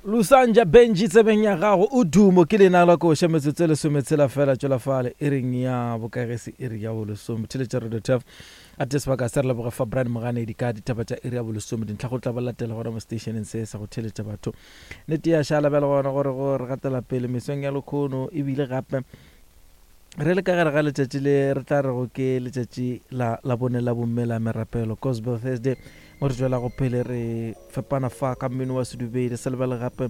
Lusanja Benji tsebeng ya gago o dumo ke lena la koša metsotso e lesometshela fela tšwela fale e reng ya bokagese e re ya bolesome theletša radio tef a te sebaka se re leboge fa Brian Moganedi ka ditaba tša iri ya bolesome dintlha go tla ba latela gona mo stationeng se sa go theletša batho nete ya šala bjale gona gore go re gatela pele mesong ya lekhono ebile gape Re le ka gare ga letšatši le re tla rego ke letšatši la Labone la Bomme la Merapelo, Gospel Thursday, mo re tšwelago pele re fepana fa ka mmino wa sedumedi. Se lebale gape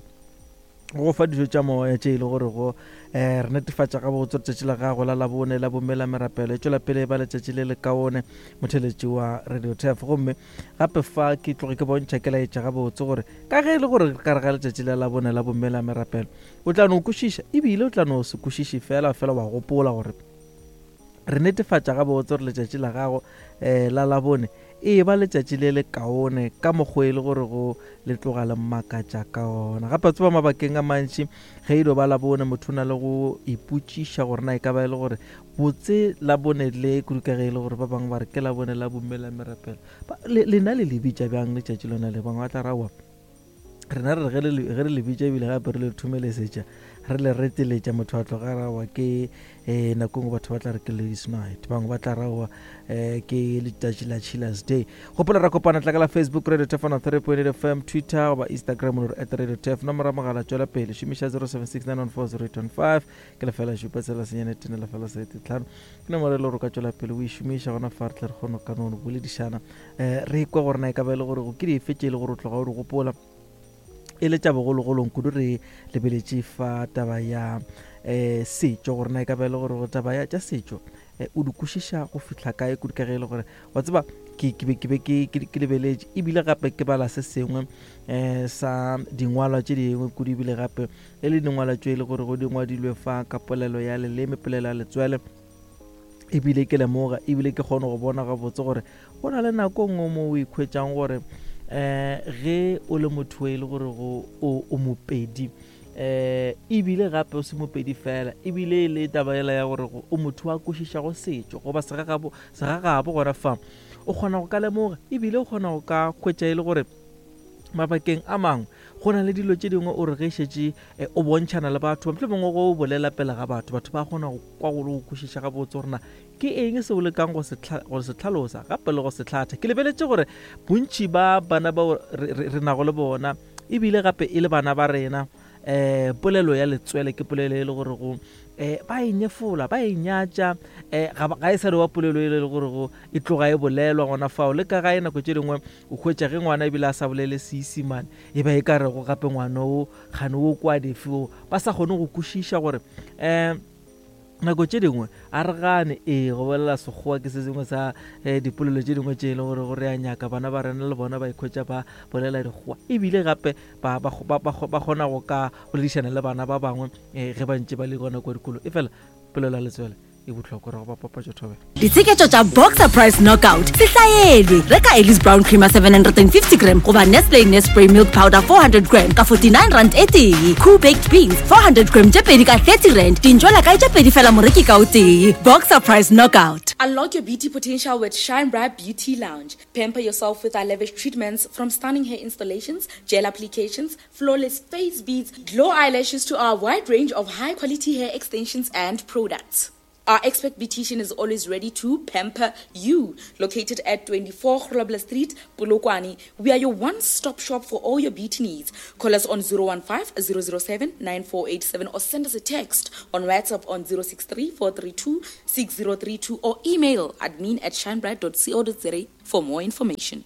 go fa dijo tša moya tše e le gore go um re netefatša gabotse letšatši la gago la Labone la Bomme la Merapelo e tšwela pele e ba letšatši le lekaone motheletši wa Radio Turf. Gomme gape fa ke tloge ke bontšha ke laetša gabotse gore ka ge e le gore ka re ga letšatši la Labone la Bomme la Merapelo O tla no kwešiša, e bile o tla no se kwešiše fela, fela wa gopola gore re netefatša gabotse gore letšatši la gago um la Labone e ba letšatši le le kaone ka mokgwa e le gore go le tloga le makatša ka ona. Gape tseba mabakeng a mantši ge e dio ba Labone motho o na le go ipotšiša gore na e ka ba e le gore botse Labone le kudu ka ge e le gore ba bangwe ba re ke Labone la bomme la merapelo. Lena le le bitša bjang letšatši lona le? Bangwe ba tla ra aowa rena re re ge re le bitša ebile gape re le thomelesetša re le reteletša motho a tloga rawa ke um nako ngwe batho ba tla re ke ladies night bangwe ba tla rawa um ke letšatši la chillers day gopola ra kopana tla ka la facebook radio tefana 3.8 fm twitter goba instagram lo re at radio tef nomoro ya mogala tšwela pele šomiša 0769140815 ke lefela šupa tshela senyane tene lefela sete tlhano ke nomoro e le gore o ka tšwela pele o e šomiša gona fa re tle re kgone ka no boledišana um re kwe gore na e ka ba e le gore ke dife tše e le gore o tloga o di gopola e le tša bogologolong kudu re lebeletše fa taba ya um setšo gore na e ka ba e le gore taba ya tša setšo um o di kwešiša go fihla kae kudu ka ge e le gore wa tseba ke be ke be ke lebeletše ebile gape ke bala se sengwe um sa dingwalwa tše dingwe kudu ebile gape e le dingwalwa tše e le gore go di ngwadilwe fa ka polelo ya leleme polelo ya letswele ebile ke lemoga ebile ke kgone go bona gabotse gore go na le nako nngwe mo o ikhwetšang gore um ge o le motho e le gore o mopedi um ebile gape o se mopedi fela ebile e le taba ela ya gore o motho wa kwešišago setšo goba segagabo gona fa o kgona go ka lemoga ebile o kgona go ka hwetša e le gore mabakeng a mangwe go na le dilo tše dingwe o re ge šetše eh, o bontšhana le batho mohlomongwe mongwe go bolela pele ga batho batho ba kgona go kwa go le go kwešiša gabotse gore na ke eng se o lekang go se hlalosa gape le go se hlatha ke lebeletše gore bontši ba bana bao re nago le bona ebile gape e le bana ba rena um polelo ya letswele ke polelo e le gore go um ba e nyefola ba e nyatša um ga e sa le wa polelo e le gore go e tloga e bolelwa gona fao le ka gae nako tše dingwe o hwetša ge ngwana ebile a sa bolele seisimane e ba e ka rego gape ngwana o kgane o kwa dife o ba sa kgone go kwešiša gore um nako tše dingwe a re gane ee go bolela sekgowa ke se sengwe sa um dipolelo tše dingwe tše e le gore go re a nyaka bana ba rena le bona ba ikhwetša ba bolela dikgowa ebile gape ba kgona go ka boledišana le bana ba bangwe um ge ba ntše ba le gona kwa dikolong e fela polelo ya letswele e bohlokwa re go ba papatšo thobela Ditsheketšo tša Boxer Price Knockout se hlaelwe. Reka Ellis Brown Creamer 750 gram goba Nestle Nespray Milk Powder 400 gram ka 49 rand e tee. Cool Baked Beans 400 gram tše pedi ka 30 rand. Dintšwela kae tše pedi fela moreki ka o tee. Boxer Price Knockout. Unlock your beauty potential with Shine Bright Beauty Lounge. Pamper yourself with our lavish treatments from stunning hair installations, gel applications, flawless face beads, glow eyelashes to our wide range of high quality hair extensions and products. Our expert beautician is always ready to pamper you. Located at 24 Grobler Street, Polokwane, we are your one-stop shop for all your beauty needs. Call us on 015 007 9487 or send us a text on WhatsApp on 063 432 6032 or email admin at shinebright.co.za for more information.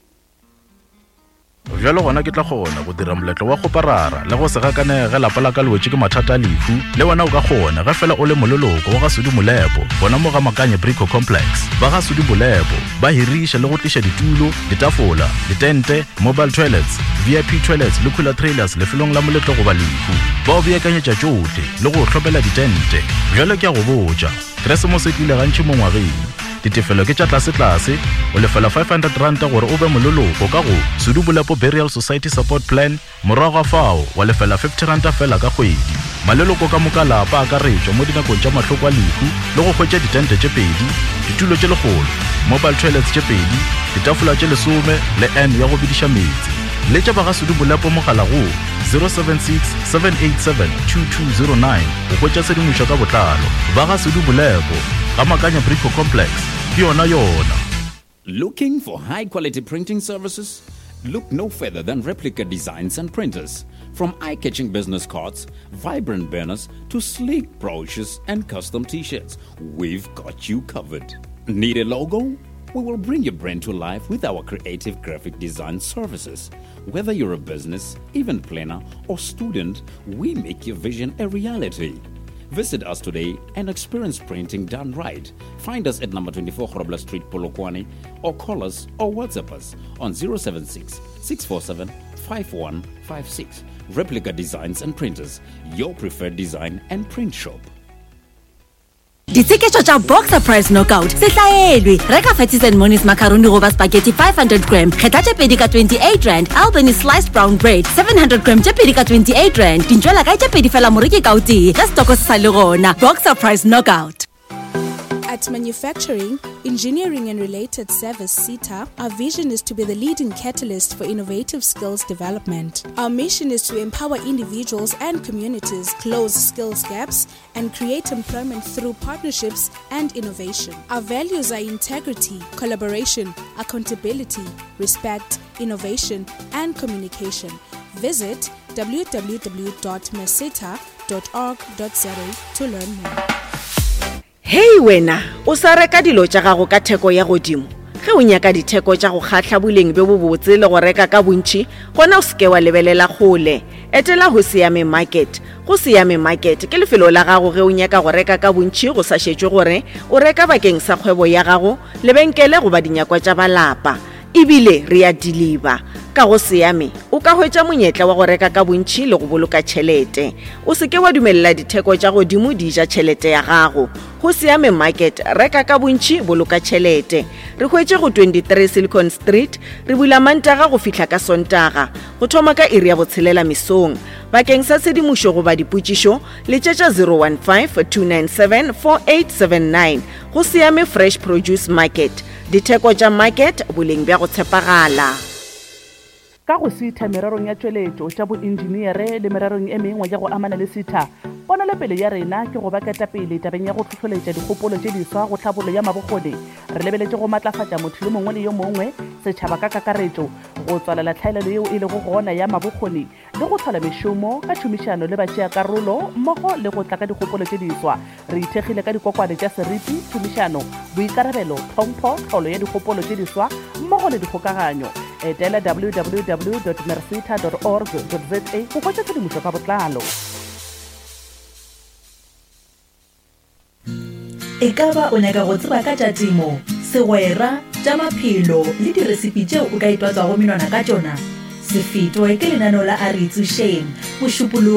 Bjalo gona ke tla kgona go dira moletlo wa kgoparara le go se gakanege ge lapa la ka le wetše ke mathata a lehu. Le wena o ka kgona ge fela o le moleloko wa ga Sudi Molepo gona mo ga Makanye Brico Complex. Ba ga Sudi Molepo ba hiriša le go tliša ditulo, ditafola, ditente, mobile toilets, VIP toilets le cooler trailers lefelong la moletlo goba lehu. Ba o beakanyetša tšohle le go o hlomela ditente. Bjalo ke a go botša, Keresemose e tlile gantši mo ngwageng. Ditefelo ke tša tlasetlase, o lefela R500 gore o be moleloko ka go Sudubolepo Burial Society Support Plan, morago ga fao wa lefela R50 fela ka kgwedi. Maleloko ka moka a lapa a akaretšwa mo dinakong tša mahloko a lehu le go hwetša ditente tše pedi, ditulo tše lekgolo, mobile toilets tše pedi, ditafola tše lesome le urn ya go bediša meetse. Letša ba ga Sudu Bolepo mogala go 076 787 2209 go hwetša tshedimošo ka botlalo. Ba ga Sudu Bolepo, ga Makanya Brico Complex, ke yona yona. Looking for high quality printing services? Look no further than Replica Designs and Printers. From eye catching business cards, vibrant banners, to sleek brochures and custom t shirts, we've got you covered. Need a logo? We will bring your brand to life with our creative graphic design services. Whether you're a business, event planner, or student, we make your vision a reality. Visit us today and experience printing done right. Find us at number 24 Grobler Street, Polokwane, or call us or WhatsApp us on 076 647 5156. Replica Designs and Printers, your preferred design and print shop. Ditsheketšo tša Boxer Price Knockout se hlaelwe. Reka Fatties and Monies macaroni goba spaghetti 500 gram, kgetha tše pedi ka 28 rand, Albany sliced brown bread 700 gram tše pedi ka 28 rand. Dintšwela kae tše pedi fela moreki ka o tee ge setoko se sa le gona. Boxer Price Knockout. At Manufacturing, Engineering and Related Service SETA, our vision is to be the leading catalyst for innovative skills development. Our mission is to empower individuals and communities, close skills gaps, and create employment through partnerships and innovation. Our values are integrity, collaboration, accountability, respect, innovation, and communication. Visit www.meseta.org.za to learn more. Hei wena, o sa reka dilo tša gago ka theko ya godimo? Ge o nyaka ditheko tša go kgahla boleng bjo bobotse le go reka ka bontši, gona o se ke wa lebelela kgole. Etela Hosiame Market. Go Siame Market ke lefelo la gago ge o nyaka go reka ka bontši go sa šetšwe gore o reka bakeng sa kgwebo ya gago, lebenkele goba dinyakwa tša ba lapa. E bile re a diliba. Ka go Siame o ka hwetša monyetla wa go reka ka bontši le go boloka tšhelete. O se ke wa dumelela ditheko tša godimo di ja tšhelete ya gago. Go Siame Market, reka ka bontši, boloka tšhelete. Re hwetše go 23 Silicon Street, re bula Mantaga go fihla ka Sontaga, go thoma ka iri ya botshelela mesong. Bakeng sa tshedimošo goba dipotšišo, letšetša 015-297-4879. Go Siame Fresh Produce Market, ditheko tša market, boleng bja go tshepagala. Ka go sitha mererong ya tšweletšo, tša bointšineere le mererong e mengwe ya go amana le sitha, ponelopele ya rena ke go ba ketapele tabeng ya go hlohloletša dikgopolo tše diswa go tlhabollo ya mabokgoni. Re lebeletše go matlafatša motho yo mongwe le yo mongwe, setšhaba ka kakaretšo, go tswalela tlhaelelo yeo e lego gona ya mabokgoni le go hlola mešomo ka tšhomišano le batšeakarolo mmogo le go tla ka dikgopolo tše diswa. Re ithekgile ka dikokwane tša seriti, tšhomišano, boikarabelo, tlhompho, tlholo ya dikgopolo tše diswa mmogo le dikgokaganyo. Etela www.merseta org za go hwetša tshedimošo ka botlalo. Ekaba o nyaka go tseba ka tša temo, segwera, tša maphelo le diresipi tšeo o ka itwatswago menwana ka tšona? Se fetwe ke lenaneo la A Re Itsošeng, Mošupologo.